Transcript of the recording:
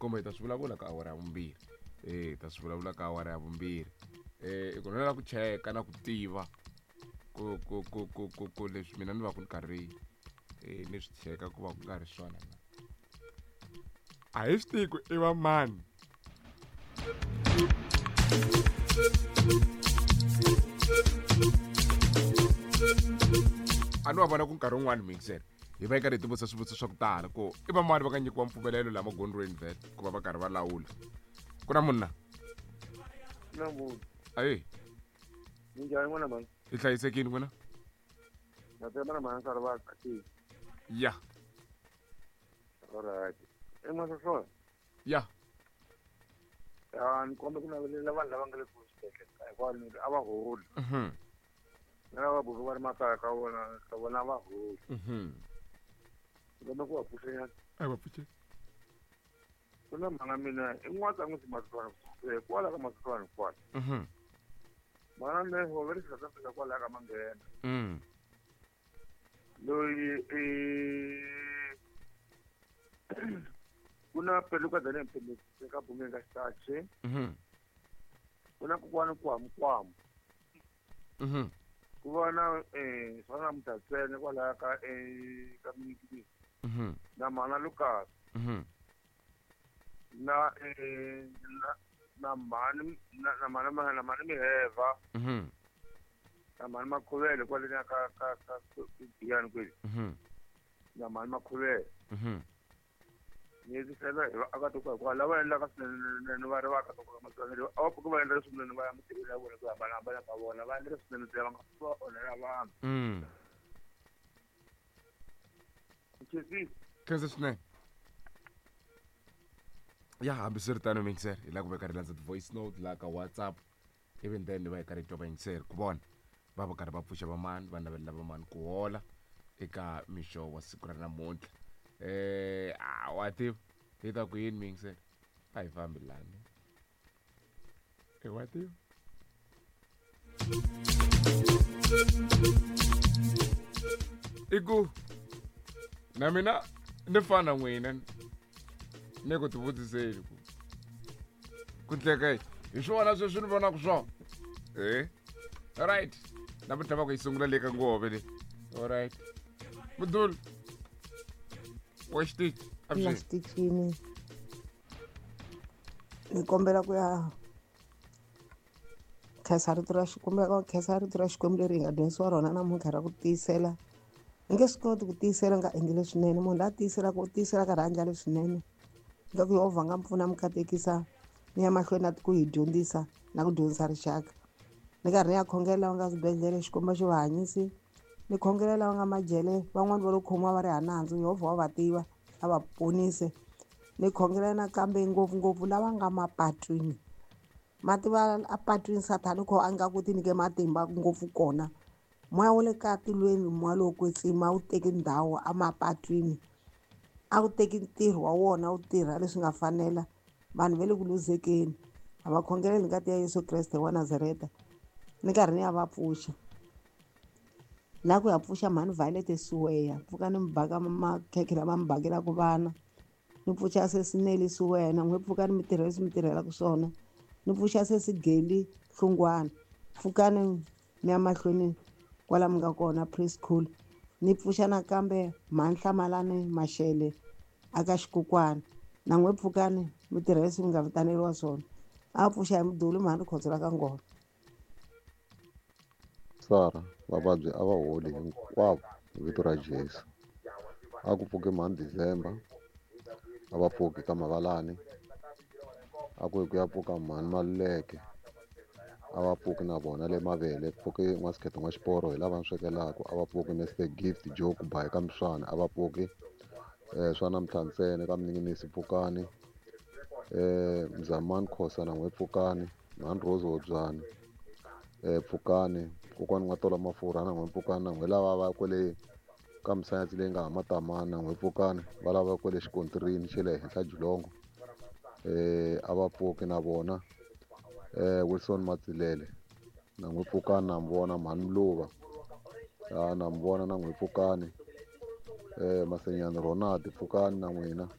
Kumbe hi ta swi vulavula ka awara ya vumbirhi. Hi ta swi vulavula ka awara ya vumbirhi. I ku lava ku cheka na ku tiva ku ku ku ku ku ku leswi mina ni va ku ni karhi ni swi cheka ku va ku nga ri swona na. A hi swi tivi ku i va mani. A ni wa vona ku nkarhi wun'wani mixer hi va yi karhi hi tivutisa swivutiso swa ku tala ku i va mani va nga nyikiwa mpfumelelo laha magondzweni vhele ku va va karhi va lawula. Ku na munhu na? Na munhu. Ayi. Minjhani n'wina mhani? Hi hlayisekile n'wina? Na tshemba na mhani karhi va kahle. Ya. Alright. I Masosona? Ya. Ya, ni kombe ku navelela vanhu lava nga le ku xibedhlele hinkwavo ni a va holi. Na lava buku va ri makaya ka vona ka vona a va holi. Ni kombe ku va pfuxenyana. A va pfuxe. Ku na mhana mina i n'watsan'wisi Masoswana kwala ka Masoswana kwala. Mhana mina va ri South Africa kwala ka Manghena. Loyi i ku na peluka dane mpembesi ka bumeni ka xitachi. Ku na kokwana Kwamukwamu. Ku va na swa na Mutatsene kwalaya ka ka Mnikini. Na mhana Lucas. Na na na mhani na na mhani na mhani Miheva. Na mhani Makhuvele kwale ka ka ka Giyani kwele. Na mhani Makhuvele. Ni tlhela hi vaakatiko hinkwavo lava endlaka swinene va ri vaakatiko ka matsonga a va pfuki va endla leswinene va ya mintirhweni ya vona ku hambanahambana ka vona va endla leswinene ntsena va nga va onhela vanhu. Khensa swinene. Ya, hambiswiritano mixer hi lava ku veka ri landza ti-voice note laha ka WhatsApp, even then va hi karhi hi twa vayingiseri ku vona va va karhi va pfuxa vamani, va navelela vamani ku hola eka mixo wa siku ra namuntlha. A wa tiva hi ta ku yini miyingiseri, a hi fambi lani e wa tiva. I ku na mina ni fana n'wina ni ku tivutiseni ku ku ndleka hi swona sweswi ni vonaka swona. Alright, namuntlha va ku yi sungula le ka ngove le. Alright, mudulu wa xitichi. Na xitichini ni kombela ku ya khensa rito ra Xikwembu, ku khensa rito ra Xikwembu leri hi nga dyondzisiwa rona namuntlha ra ku tiyisela. Ni nge swi koti ku tiyisela nga endli leswinene. Munhu la tiyiselaka u tiyisela karhi a endla leswinene. Loko Yehovha nga mi pfuna mi katekisa ni ya mahlweni na ku hi dyondzisa na ku dyondzisa rixaka. Ni karhi ni ya khongela lava nga swibedhlele, Xikwembu xi va hanyisi. Ni khongela lava nga majele, van'wani va lo khomiwa va ri hava nandzu, Yehovha wa va tiva, a va ponise. Ni khongela nakambe ngopfungopfu lava nga mapatwini. Ma tiva a patwini Sathana kho a nga ku ti nyike matimba ngopfu kona. Moya wa le ka tilweni, moya lowo kwetsima wu teki ndhawu emapatwini. A wu teki ntirho wa wona wu tirha leswi nga fanela. Vanhu va le ku luzekeni. A va khongeleli ngati ya Yesu Kreste wa Nazareta. Ni karhi ni ya va pfuxa. La ku ya pfuxa mhani Violet Siweya, pfuka ni mi baka makhekhe lama mi bakelaka vana. Ni pfuxa sesi Nelly Siweya, na n'we pfuka ni mi tirhela leswi mi tirhelaka swona. Ni pfuxa sesi Geli Hlungwana, pfukani mi ya mahlweni kwala mi nga kona preschool. Ni pfuxa nakambe mhani Hlamalani Mashele aka Xikukwana, na n'we pfukani mi tirhela leswi mi nga vitaneriwa swona. A pfuxa hi mudulu mhani Rikhotso ra ka Ngoma. Sara, vavabyi a va holi hinkwavo hi vito ra Jesu. A ku pfuki mhani December, a va pfuki ka Mavalani. A ku yi ku ya pfuka mhani Maluleke, a va pfuki na vona le Mavele. Pfuki N'wasikhetho N'waxiporo hi lava ni swekelaka, a va pfuki Mister Gift Joe ku ba eka Miswana, a va pfuki swa namuntlha ntsena ka Mninginisi pfukani. Mzamani Khosa na n'we pfukani, mhani Rose Hobyani pfukani, kokwani N'watola Mafurha na n'we pfukani, na n'we lava va kwele ka misayatsi leyi nga hama Tamani na n'we pfukani, va lava kwele xikontirini xa le henhla Jilongo a va pfuki na vona. Wilson Matsilele na n'we pfukani, na mi vona mhani Mluva na mi vona na n'we pfukani. Masenyani Ronald pfukani na n'wina.